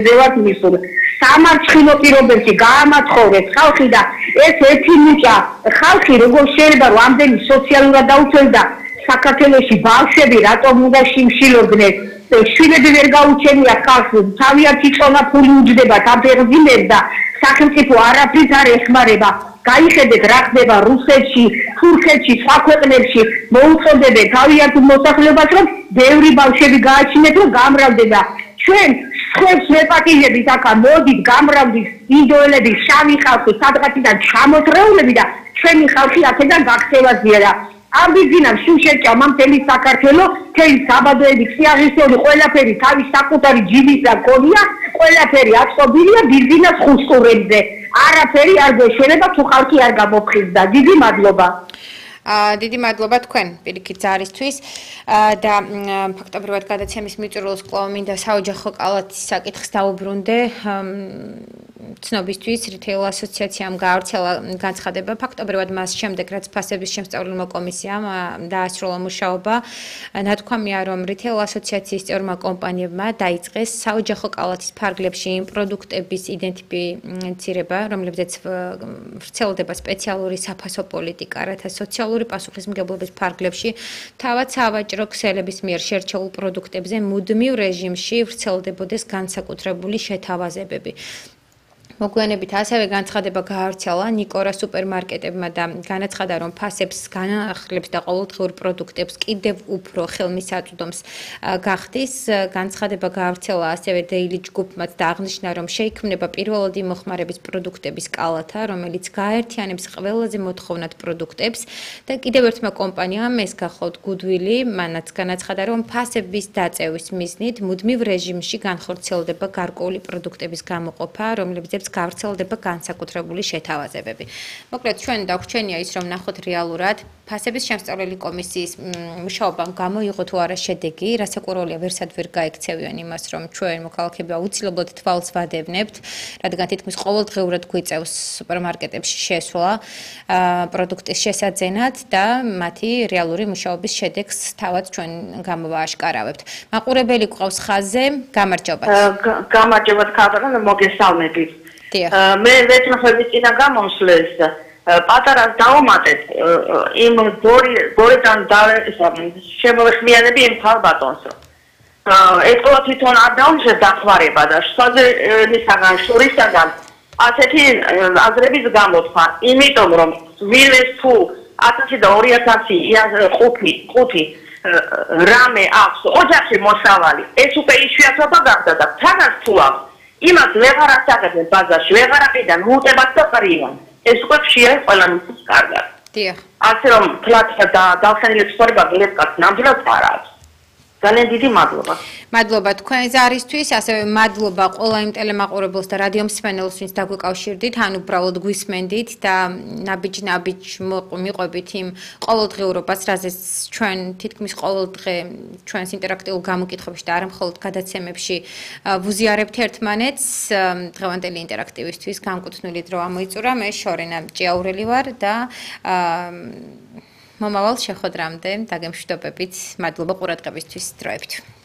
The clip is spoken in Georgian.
ზევათ მისულ სამარცხინო პირობებში გაამათხოვეთ ხალხი და ეს ერთი მუჭა ხალხი როგორ შეიძლება რომ ამდენი სოციალურად დაუცველს და საქართველოში ბავშვები რატომ უნდა შიმშილობდნენ შვილები ვერ გაუჩენია ხალხს თავიანთი წონა ფული უჯდებათ ამ ფერმერებს და სახელმწიფო არაფრით არ ეხმარება გაიხედეთ რა ხდება რუსეთში, თურქეთში, სხვა ქვეყნებში მოუწოდებენ თავიანთ მოსახლეობას რომ ბევრი ბავშვები გააჩინეთ რომ გამრავლდნენ და ჩვენ ხებს ვეპატიჟებით ახლა მოდით გამრავლდით ინდოელები, შავი ხალხი, სადღაციდან ჩამოთრეულები და ჩვენი ხალხი აქედან გაქცევაზია და ამბიძინამ შუშეთჭა მთელი საქართველო, მთელი საბადოები, სიაღისეული, ყველაფერი თავის საკუთარი ჯიბის და გონია, ყველაფერი აწყობილია ბიზნეს ხუსტურებზე. არაფერი არ გვეშველება თუ ხალხი არ გამოფხიზდა. დიდი მადლობა. დიდი მადლობა თქვენ პირიქით ზარისთვის და ფაქტობრივად გადაცემის მიწურულს კვლავ მინდა საოჯახო კალათის საკითხს დაუბრუნდე ცნობისთვის რიტეილ ასოციაციამ გაავრცელა განცხადება ფაქტობრივად მას შემდეგ რაც ფასების შემსწავლელმა კომისიამ დაასრულა მუშაობა ნათქვამია რომ რიტეილ ასოციაციის წევრმა კომპანიებმა დაიწყეს საოჯახო კალათის ფარგლებში იმ პროდუქტების იდენტიფიცირება რომლებზეც ვრცელდება სპეციალური საფასო პოლიტიკა რათა სოციალური პასუხისმგებლობის ფარგლებში თავად სავაჭრო ქსელების მიერ შერჩეულ პროდუქტებზე მუდმივ რეჟიმში ვრცელდებოდეს განსაკუთრებული შეთავაზებები. მოგვიანებით ასევე განცხადება გაავრცელა ნიკორა სუპერმარკეტებმა და განაცხადა რომ ფასებს განახლებს და ყოველდღიურ პროდუქტებს კიდევ უფრო ხელმისაწვდომს გახდის განცხადება გაავრცელა ასევე დეილი ჯგუფმაც და აღნიშნა რომ შეიქმნება პირველადი მოხმარების პროდუქტების კალათა რომელიც გააერთიანებს ყველაზე მოთხოვნად პროდუქტებს და კიდევ ერთმა კომპანიამ ეს გახლავთ გუდვილი მანაც განაცხადა რომ ფასების დაწევის მიზნით მუდმივ რეჟიმში განხორციელდება გარკვეული პროდუქტების გამოყოფა რომლებზეც გავრცელდება განსაკუთრებული შეთავაზებები. მოკლედ ჩვენ დაგვრჩენია ის რომ ნახოთ რეალურად ფასების შემსწავლელი კომისიის მუშაობამ გამოიღო თუ არა შედეგი, რასაკვირველია ვერსად ვერ გაიქცევიან იმას რომ ჩვენ მოქალაქეები აუცილებლად თვალს ვადევნებთ, რადგან თითქმის ყოველდღიურად გვიწევს სუპერმარკეტებში შესვლა პროდუქტის შესაძენად და მათი რეალური მუშაობის შედეგს თავად ჩვენ გამოვააშკარავებთ. მაყურებელი გვყავს ხაზზე, გამარჯობათ. გამარჯობათ ქალბატონო, მოგესალმებით. მე ვეთნახები წინა გამოსვლეს პატარას დავუმატეთ იმ გორიდან შემოვეხმიანები იმ ქალბატონს ეთქვა თვითონ არ დაუშვეს დახმარება და სხვადასხვა შორისაგან ასეთი აზრების გამოთქვა იმიტომ რომ ვინმეს თუ 1000 და 2000 5 რამე აქვს ოჯახში მოსავალი ეს უკვე იშვიათობა გახდა და თანაც თუ აქვს იმას ვეღარ ასაღებენ ბაზარში, ვეღარ აკიდან, უუტებათ და ყრიან. ეს უკვე ხშირად ყველამისთვის კარგად. დიახ. ასე რომ თლათ და დავხენილი ცხოვრება გლევკაც ნამდვილად არ აქვს. ძალიან დიდი მადლობა. მადლობა თქვენ ზარისთვის, ასევე მადლობა ყველა იმ ტელემაყურებელს და რადიო მსმენელს, ვინც დაგვიკავშირდით, ან უბრალოდ გვისმენდით და ნაბიჯ მიყვებით იმ ყოველდღიურობას, რაზეც ჩვენ თითქმის ყოველდღე ჩვენს ინტერაქტიულ გამოკითხვებში და არა მხოლოდ გადაცემებში ვუზიარებთ ერთმანეთს. დღევანდელი ინტერაქტივისთვის განკუთვნილი დრო ამოიწურა. მე შორენა ჭიაურელი ვარ და მომავალ შეხვედრამდე დაგემშვიდობებით. მადლობა ყურადღებისთვის. დროებით.